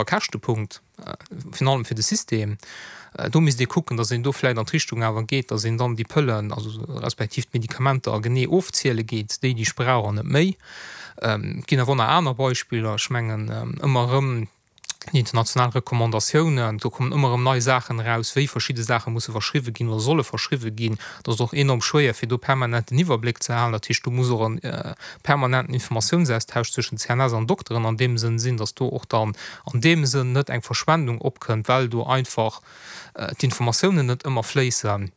e Käschtepunkt, virun allem fir de System. Do misst ee kucken, datt een do vläicht an d'Richtung awer geet, datt een dann déi Pëllen, also respektiv d'Medikamenter genee ofziele geet, déi, déi ech brauch an net méi. Et ginn awer och nach aner Beispiller. Ech mengen ëmmer erëm déi international Recommandatiounen, do kommen ëmmer erëm nei Saachen eraus, wéi verschidde Saache musse verschriwwe ginn oder solle verschriwwe ginn. Dat ass och enorm schwéier, fir do permanent den Iwwerbléck ze halen. Dat heescht, do muss och e permanenten Informatiounsaustausch zwëschen CNS an Dokteren an deem Sënn sinn, dass do och dann an deem Sënn net eng Verschwendung opkënnt, well do einfach d'Informatiounen net ëmmer fléissen.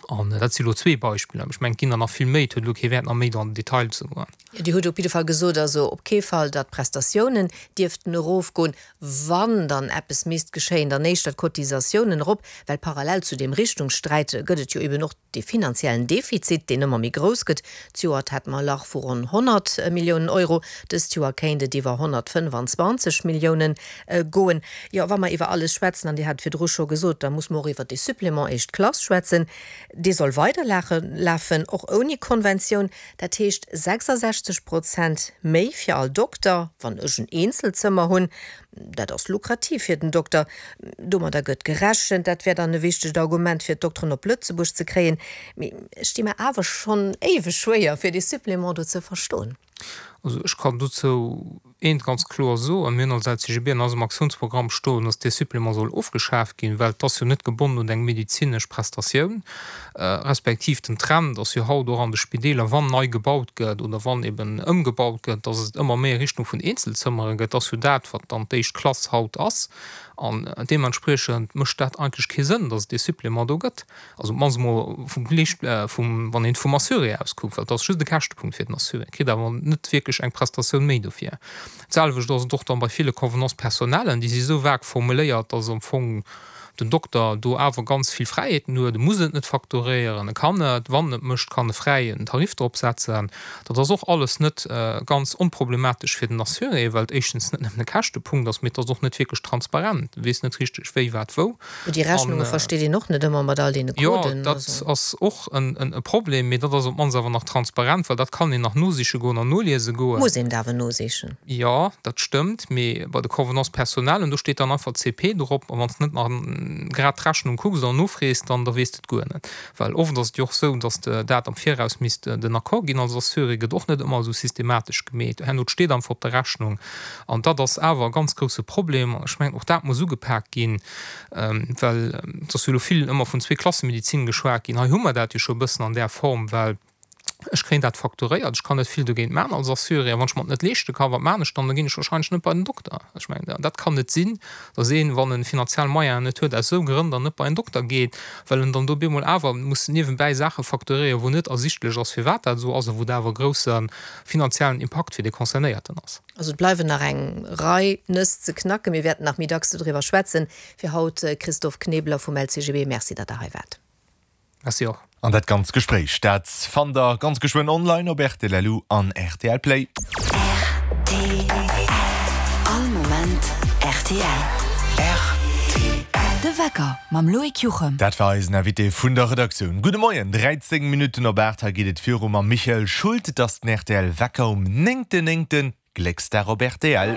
An dat si lo zwee Beispiller, mee ech mengen, et ginn der nach vill méi. Et huet elo kee Wäert, nach méi do an den Detail ze goen. Jo, Dir hutt op jidde Fall gesot, also op kee Fall, datt d'Prestatiounen dierften erofgoen. Wann dann eppes misst geschéien, dann éischter d'Cotisatiounen erop, well parallel zu deem Richtungssträit gëtt et jo eben och dee finanziellen Defizit, deen ëmmer méi grouss gëtt. D'Joert hat mer e Lach vu ronn 100 Milliounen Euro, dëst Joer kéint et iwwer 125 Milliounen goen. Jo, wa mer iwwer alles schwätzen, an Dir hat et virdru scho gesot, da muss mer och iwwer dee Supplément éischt Klass schwätzen. Dee soll weiderlafen, och ouni Konventioun. Dat heescht 66 Prozent méi fir all Dokter, wann ech en Eenzelzëmmer hunn. Dat ass lukrativ fir den Dokter. Domadder gëtt gerechent. Dat wär dann e wichtegt Argument, fir d'Dokteren op Lëtzebuerg ze kréien. Mee ech di mer awer schonn éiweg schwéier, fir dee Supplément do ze verstoen. Also ech kann dozou eent ganz kloer soen, Mir hunn als LCGB an eisem Aktiounsprogramm stoen, dass dee Supplément soll ofgeschaaft ginn, well et ass jo net gebonnen un eng medezinesch Prestatioun, respektiv den Trend ass jo haut och an de Spideeler, wann nei gebaut gëtt oder wann eben ëmgebaut gëtt, dass et ëmmer méi a Richtung vun Eenzelzëmmere gëtt. Dat ass jo dat, wat dann d'éischt Klass haut ass. An deementspriechend mécht dat eigentlech kee Sënn, dass et dee Supplément do gëtt. Also op d'mannst emol vum Liicht, vum, wann een vum Assuré aus kuckt, well et ass just e Käschtepunkt fir den Assuré, kritt awer net wierklech eng Prestatioun méi dofir. D'selwecht ass et och dann bei ville Convenances personnellen, déi si esou vag formuléiert, dass am Fong den Dokter do awer ganz vill Fräiheeten huet, e muss et net facturéieren, e kann et, wann en et mécht, kann e fräi en Tarif drop setzen. Dat ass och alles net ganz onproblematesch fir den Assuré, well et éischtens net nëmmen e Käschtepunkt ass, mee et ass och net wierklech transparent, e weess net richteg wéi, wat, wou. Déi Rechnunge versteet een och net ëmmer mat all deene Coden. Jo, dat ass och e Problem, mee dat ass op d'mannst awer nach transparent, well dat kann een nach nosiche goen an noliese goen. Muss een et awer nosichen. Jo, dat stëmmt, mee bei de Convenances personnelles, do steet dann einfach CP drop, a wann s de net nach grad d'Rechnung kucks an nofrees, dann da weess de et guer net. Well oft ass et jo och esou, dass de dat am Viraus misst den Accord ginn als Assuré, gëtt och net ëmmer esou systematesch gemeet. Herno, et steet einfach op der Rechnung. An dat ass awer e ganz grousse Problem. An ech mengen, och dat muss ugepak ginn, well et ass jo elo vill ëmmer vun Zweeklassemedizin geschwat ginn. Hei hu mer dat jo scho e bëssen an där Form, well ech kréien dat facturéiert, ech kann net vill dogéint maachen als Assuré. A wann ech mer et net leeschte kann, wat maachen ech dann? Da ginn ech wahrscheinlech net bei den Dokter. Ech mengen, dat kann net sinn, dass een, wann e finanziell Moyenen net huet, aus esou Grënn dann net bei en Dokter geet, well en dann do bemol awer muss niewenbäi Saache facturéieren, wou net ersichtlech ass, firwat dat esou ass a wou dat awer e grousse finanziellen Impakt fir dee Concernéierten ass. Also et bleiwen nach eng Rei Nëss ze knacken. Mir wäerten nach méi dacks dodriwwer schwätzen. Fir haut, Christophe Knebeler vum LCGB, Merci, datt Der hei waart. Merci och. An dat ganzt Gespréich, dat fannt der ganz geschwënn online op rtl.lu an rtl Play. Rtl, All Moment rtl. Rtl. De Wecker mam Loïc Juchem. Dat war eisen Invité vun der Redaktioun. Gudde Moien, 13 Minutten op 8, hei geet et viru mam Michael Schult. Et ass den rtl Wecker um néngten néngten, Glécksdag op rtl.